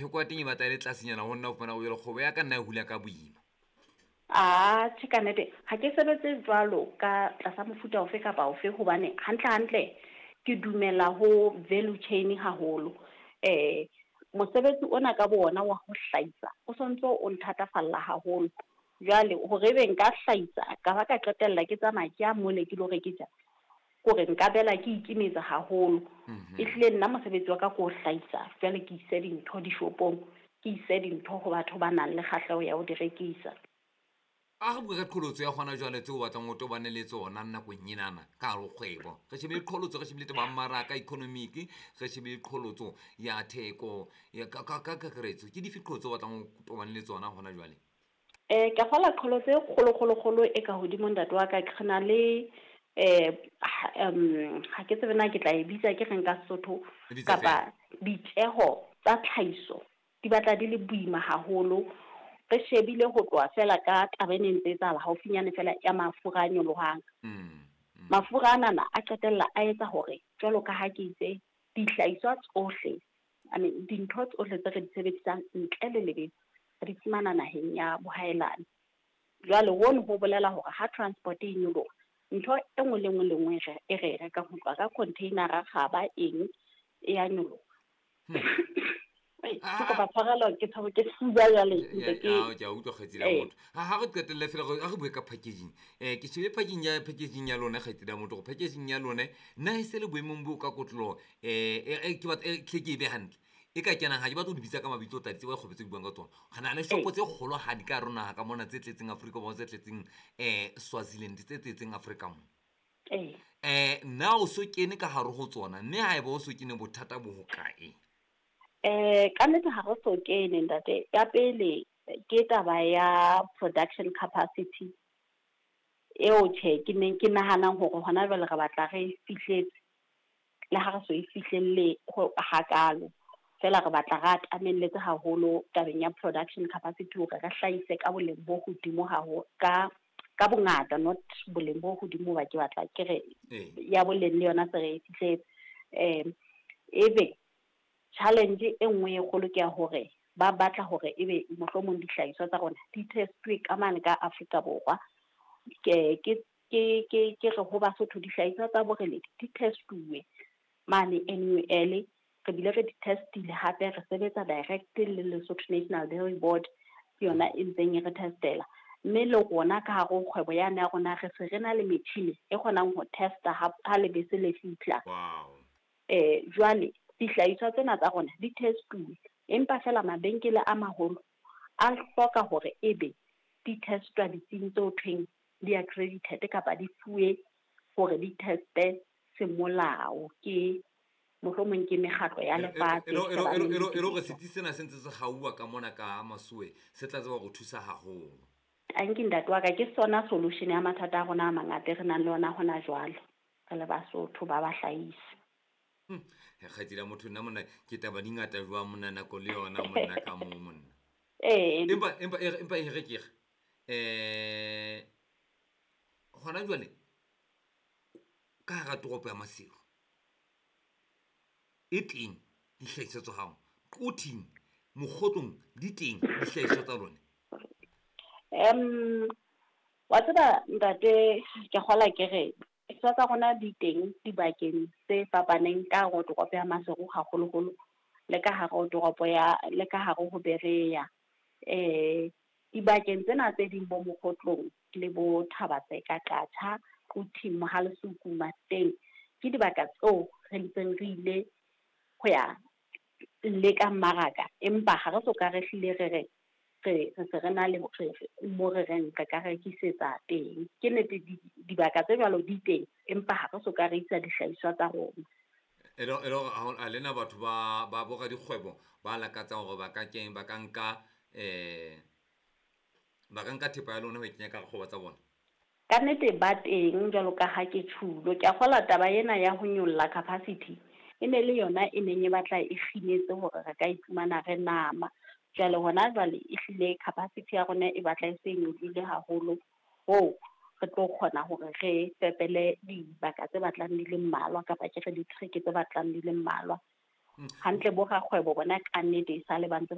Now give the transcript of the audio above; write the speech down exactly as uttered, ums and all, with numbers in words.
Theko ya teng e batla e le tlasenyana ho nna o fumana o jwale kgwebo ya ka nna e hula ka boima. Ah, tjhe ka nnete ha ke sebetse jwalo ka tlasa mofuta ofe kapa ofe hobane hantle hantle ke dumela ho value chain haholo. Eh mosebetsi ona ka bo ona wa ho hlahisa o sontso o nthatafalla haholo. Jwale hore ebe nka hlahisa ka ba ka qetella ke tsamaya ke ya mole ke lo rekisa kore nka bela ke ikimetsa haholo. Ehlile nna mosebetsi wa ka ke ho hlahisa jwale ke ise dintho dishopong, ke ise dintho ho batho ba nang le kgahleho ya ho di rekisa. A re bue ka qholotso ya hona jwale tseo o batlang o tobane le tsona nakong enana ka hare ho kgwebo. Re shebile qholotso, re shebile taba ya mmaraka economic, re shebile qholotso ya theko ya ka ka kakaretso. Ke dife qholotso o batlang o tobane le tsona hona jwale? Eh ke kgola qholotso e kgolo kgolo kgolo e ka hodimo ntate wa ka ke na le eh um ha ke tsebe na ke tla e bitsa ke reng ka Sesotho kapa ditjeho tsa tlhahiso di batla di le boima haholo. Re shebile ho tloha fela ka taba e neng ntse etsahala haufinyane fela ya mafura a nyolohang. Mafura anana a qetella a etsa hore jwalo ka ha ke itse dihlahiswa tsohle, I mean dintho tsohle tse re di sebedisang ntle le lebese re di fumana naheng ya bohaelane. Jwale hono ho bolela hore ha transport e nyoloha ntho e nngwe le nngwe le nngwe e re e rekang ho tloha ka container-a kgaba eng e ya nyoloha. Ke kopa tshwarelo ke tshabo ke fuba jwale ntse ke ke a utlwa kgaitsedi ya motho. Ha ha re qetelle fela re a re bue ka packaging. Eh ke shebile packaging ya packaging ya lona kgaitsedi ya motho hore packaging ya lona na e se le boemong bo ka kotloloho eh ke batla hle ke e be hantle. E ka kenang ha ke batla ho di bitsa ka mabitso o tla di tseba dikgwebo tse ke buang ka tsona. Re na le shopo tse kgolohadi ka hare ho naha ka mona tse tletseng Afrika Borwa, tse tletseng eh Swaziland, tse tletseng Afrika mona. Eh na o so kene ka hare ho tsona mme haeba o so kene bothata bo hokae? Eh ka nnete ha re so kene ntate. Ya pele ke taba ya production capacity eo tjhe ke neng ke nahanang hore hona jwale re batla re fihletse le ha re so e fihlelle hakalo. Fela re batla re atamelletse haholo tabeng ya production capacity hore re hlahise ka boleng bo hodimo haholo ka ka bongata, not boleng bo hodimo ba ke batla ke re ya boleng le yona se re e fihletse. Eh ebe challenge e nngwe e kgolo ke ya hore ba batla hore ebe mohlomong dihlahiswa tsa rona di testwe ka mane ka Afrika Borwa. Ke ke ke ke ke re ho Basotho dihlahiswa tsa Boreledi di testuwe mane N U L, re bile re di testile hape re sebetsa direct le Lesotho National Dairy Board ke yona e ntseng e re testela. Mme le rona ka hare ho kgwebo yane ya rona re se re na le metjhini e kgonang ho testa ha ha lebese le fihla. Wow. Eh jwale dihlahiswa tsena tsa rona di testuwe empa fela mabenkele a maholo a hloka hore ebe di testwa ditsing tse ho thweng di accredited kapa di fuwe hore di teste semolao ke mohlomong ke mekgatlo ya lefatshe. E le hore setsi sena se ntse se gauwa ka mona ka masuwe se tla tseba ho thusa haholo. Tanki ntate wa ka ke sona solution ya mathata a rona a mangata re nang le ona hona jwale re le Basotho ba bahlahisi. Kgaitsedi ya motho nna monna ke taba di ngata jwang monna nako le yona monna ka moo monna. Eh Empa empa empa e re ke re eh hona jwale ka hara toropo ya Maseru e teng dihlahiswa tsa hao, Quthing, Mokgotlong di teng dihlahiswa tsa lona? Em wa tseba ntate ke kgola ke re dihlahiswa tsa rona di teng dibakeng tse fapaneng ka hare ho toropo ya Maseru haholoholo le ka hare ho toropo ya le ka hare ho Berea. Eh dibakeng tsena tse ding bo Mokgotlong le bo Thaba-Tseka, Qacha, Quthing, Mohalesuku, Mafeteng ke dibaka tseo re ntseng re ile ho ya leka mmaraka empa ha re soka re hlile re re re re se re na le mo re reng re ka rekisetsa teng. Ke nnete dibaka tse jwalo di teng empa ha re soka re isa dihlahiswa tsa rona. E le e le hore ha lena batho ba ba boradikgwebo ba lakatsang hore ba ka keng ba ka nka eh ba ka nka thepa ya lona ho e kenya ka kgwebo tsa bona? Ka nnete ba teng jwalo ka ha ke tjhulo. Ke a kgolwa taba ena ya ho nyolla capacity e ne le yona e neng e batla e kginetse hore re ka iphumana re nama. Jwale hona jwale ehlile capacity ya rona e batla e se e nyolohile haholo hoo re tlo kgona hore re fepele dibaka tse batlang di le mmalwa kapa ke re ditereke tse batlang di le mmalwa. Hantle bo rakgwebo bona ka nnete e sale ba ntse